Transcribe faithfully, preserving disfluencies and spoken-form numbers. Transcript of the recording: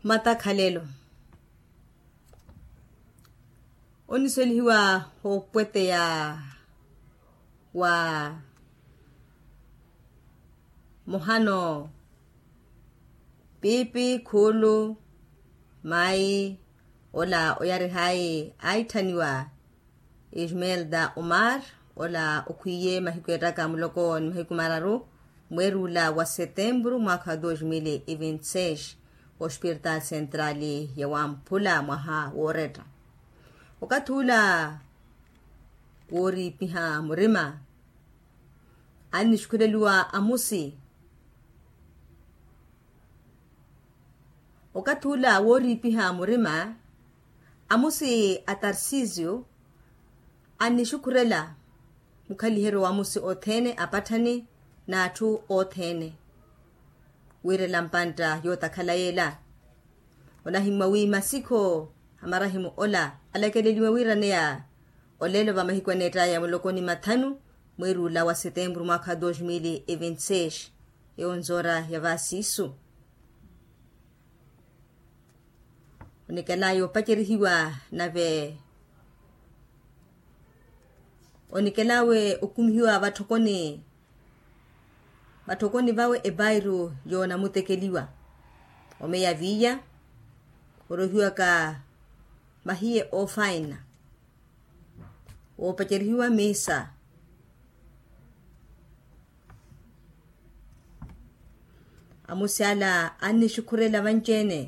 Matakhalelo. Oniselihiwa opweteya wa muhano pipi khulu mayi ola oyarihayi aitthaniwa ismelda omar ola okhwiye mahiku ettaka muloko ni mahiku mararu mweeri ula wa setempuru mwaakha wa dos mil e vinte seis ospirtal sentrali ya wamphula mwaha wooretta. Okathi ula wooriipiha murima annixukhuleliwa amusi. Okathi ula wooriipiha murima amusi a tarsisio annixukhurela mukhaliheryo wa amusi othene apatthani n'atthu othene. Wiirela mpantta yootakhala yeela onahimmwa wi masikho a marahimu ola alakeleliwe wiiraneya olelo va mahiku aneettaya muloko ni mathanu mweeri ula wa setempuru mwaakha wa dos mil e vinte seis. Eyo nzoora ya vaasiisu. Onikela yoopacerihiwa nave onikela we okumihiwa vatthokoni vatthokoni vawe epairu yoonamutekeliwa omeya viiya orohiwaka mahiye oofaina woopacerihiwa miisa. Amusi ala annixukhurela vanci-ene